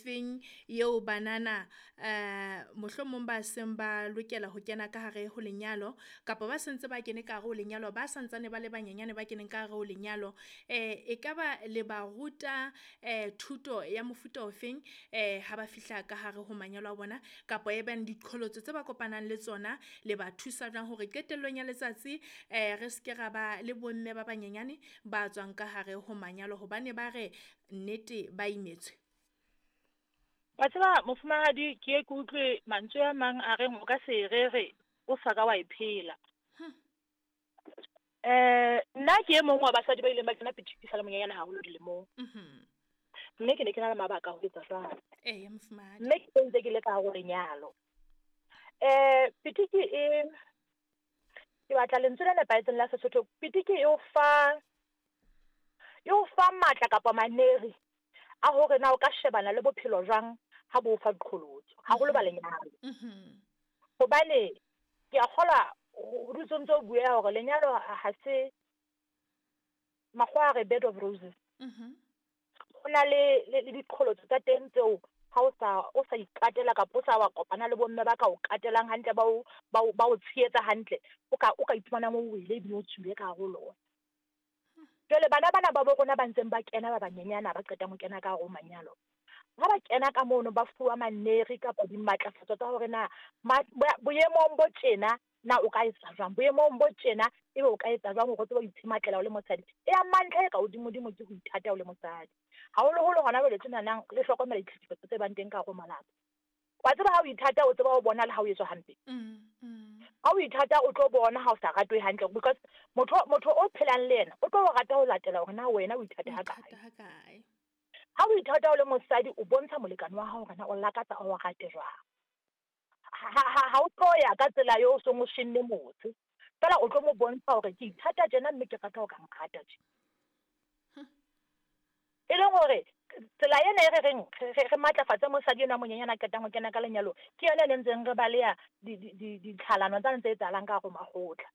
ofeng eo banana mohlomong ba seng ba lokela ho kena ka hare ho lenyalo kapa ba sentse ba kene ka hare ho lenyalo, ba santsane ba le banyenyane ba keneng ka hare ho lenyalo, ekaba le ba ruta thuto ya mofuta ofeng ha ba fihla ka hare ho manyalo a bona, kapa e bang diqholotso tse ba kopanang le tsona le ba thusa jwang hore qetellong ya letsatsi re seke ra ba le bomme ba banyenyane ba tswang ka hare ho manyalo hobane ba re nnete ba imetswe? Wa tseba mofumahadi, ke ye ke utlwe mantswe a mang a reng o ka se rere o sa ka wa e phela. Nna ke e mong wa basadi ba ileng ba kena pitiki sa le monyenyane haholo dilemong. Mme ke ne ke na le mabaka a ho etsa jwalo. Eya mofumahadi. Mme ke ntse ke le ka hare ho lenyalo. Pitiki e, ke batla lentswe le nepahetseng la Sesotho. Pitiki e o fa matla kapa maneri a hore na o ka shebana le bophelo jwang ha bo fa diqholotso, haholo ba lenyalo. Hobane ke a kgolwa ho dutse ntse o bua hore lenyalo ha se makgowa a re bed of roses. Ho na le diqholotso tsa teng tseo ha o sa ikatela kapa o sa wa kopana le bomme ba ka o katelang hantle, ba o tshehetsa hantle, o ka iphumanang o wele ebile o tswile ka hare ho lona. Jwale bana bana ba bo rona ba ntseng ba kena ba banyenyana ba qetang ho kena ka hare ho manyalo, ha ba kena ka mono ba fuwa maneri kapa dimatlafatso tsa hore na boemong bo tjena na o ka etsa jwang, boemong bo tjena ebe o ka etsa jwang hore o tsebe ho itshematlela o le mosadi. E ya mantlha e ka hodimodimo ke ho ithata o le mosadi, haholoholo hona jwale tjenanang le hlokomela ditlhekefetso tse bang teng ka hare ho malapa. Wa tseba ha o ithata o tseba ho bona le ha o etswa hampe. Ha o ithata o tlo bona ha o sa ratwe hantle, because motho o phelang le yena o tlo o rata ho latela hore na wena o ithata ha kae. Ha o ithata o le mosadi o bontsha molekane wa hao hore na o lakatsa o rate jwang. Ha o tlo ya ka tsela eo o seng o shenne motse, fela o tlo mo bontsha hore ke ithata tjena mme ke rata ho ka nrata tje. E leng hore tsela ena e re reng re matlafatse mosadi enwa monyenyana a qetang ho kena ka lenyalo, ke yona e ntseng re baleha ditlhalano tsa ntse etsahalang ka hare ho makgotla.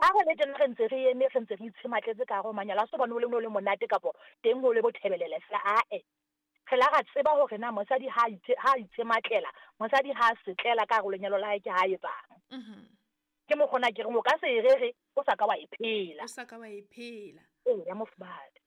Ha re le tjena re ntse re eme, re ntse re itshematletse ka hare ho manyalo, ha se hobane ho le monate kapa teng ho le bothebelele fela, ae. Re la ra tseba hore na mosadi ha itshematlela, mosadi ha setlela ka hare ho lenyalo la hae ke ha etsang. Ke mokgona ke reng o ka se e rere o sa ka wa e phela. O sa ka wa e phela. Eya mofumahadi.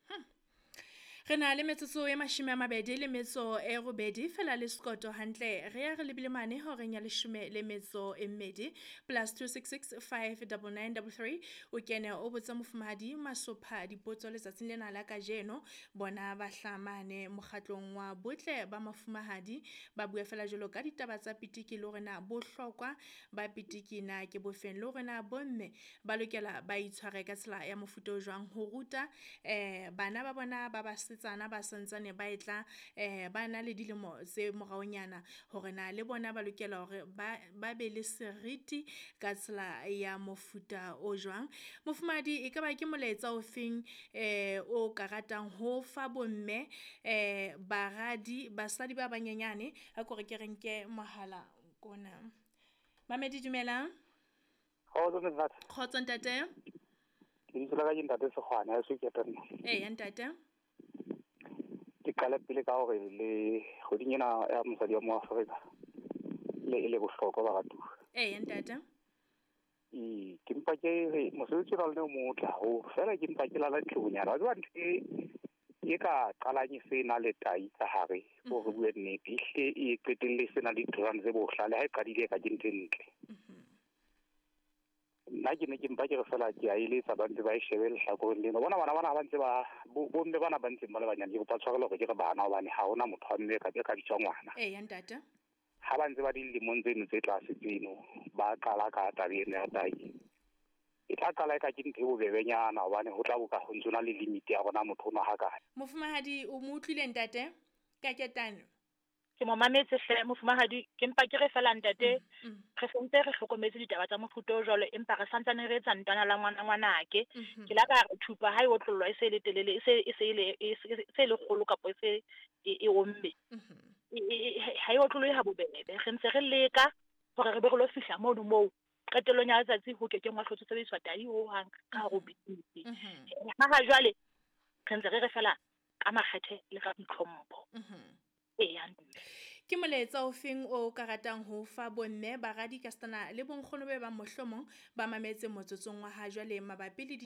Re na le metsotso e 28 fela le sekoto hantle. Re ya re lebile mane horeng ya 12 +266 59933 o kene o botsa mofumahadi Masopha dipotso letsatsing lena la kajeno. Bona ba hlamane mokgatlong wa botle ba mafumahadi ba bua fela jwalo ka ditaba tsa pitiki le hore na bohlokwa ba pitiki na ke bofeng, le hore na bomme ba lokela ba itshware ka tsela ya mofuta o jwang ho ruta bana ba bona ba basetsana ba santsane ba etla ba na le dilemo tse moraonyana hore na le bona ba lokela hore ba be le seriti ka tsela ya mofuta o jwang. Mofumahadi, e ka ba ke molaetsa o feng o ka ratang ho fa bomme baradi basadi ba banyenyane? A ko re ke re nke mohala kona. Mamedi, dumelang. Kgotso ntate. Lebitso la ka ke ntate Sekgwane, ha eso ke teng. Eya ntate. Ke qale pele ka hore le kgweding ena ya mosadi wa mo Afrika le e le bohlokwa baratuwa. Eya ntate. Ke mpa ke re mosebetsi wa lona o motle haholo, fela ke mpa ke lala ntlonyana. Wa tseba ntho e ka qalang e se na le tai ka hare, hore bue nnete, ehlile e qetelle se na le ditholwana tse bohlale, ha e qadile ka ke ntho e ntle. Nna ke ne ke mpa ke re fela ke a eletsa ba ntse ba e shebe lehlakoreng lena. Bona bana bana ha ba ntse ba bomme bana ba ntseng ba le banyane, ke kopa tshwarelo hore ke re bana hobane ha hona motho wa mme ka bitswa ngwana. Eya ntate. Ha ba ntse ba dilemong tseno tse tlase tseno ba qala ka taba ena ya tai, e tla qala e ka ke ntho e bobebenyana hobane ho tla bo ka ho ntso na le limit ya rona motho ona hakae. Mofumahadi, o mo utlwile ntate ka ketane? Ke mo mametse hle mofumahadi, ke mpa ke re fela ntate, re sentse re hlokometse ditaba tsa mofuta o jwalo, empa re santsane re etsa ntwana la ngwana ngwanake. Ke la ka re thupa ha e otlollwa e se le telele, e se le kgolo kapa e se e omme. Ha e otlollwe ha bobebe. Re ntse re leka hore re be re lo fihla mono moo qetellong ya letsatsi ho kekeng wa hlotse sebediswa tai ho hang ka hare ho business. Ha jwale re ntse re re fela ka makgethe le ka boitlhompho. Eya. Ke molaetsa o feng o ka ratang ho fa bomme, baradi ka setana le bonkgono be bang mohlomong ba mametse motsotsong wa ha jwale mabapi le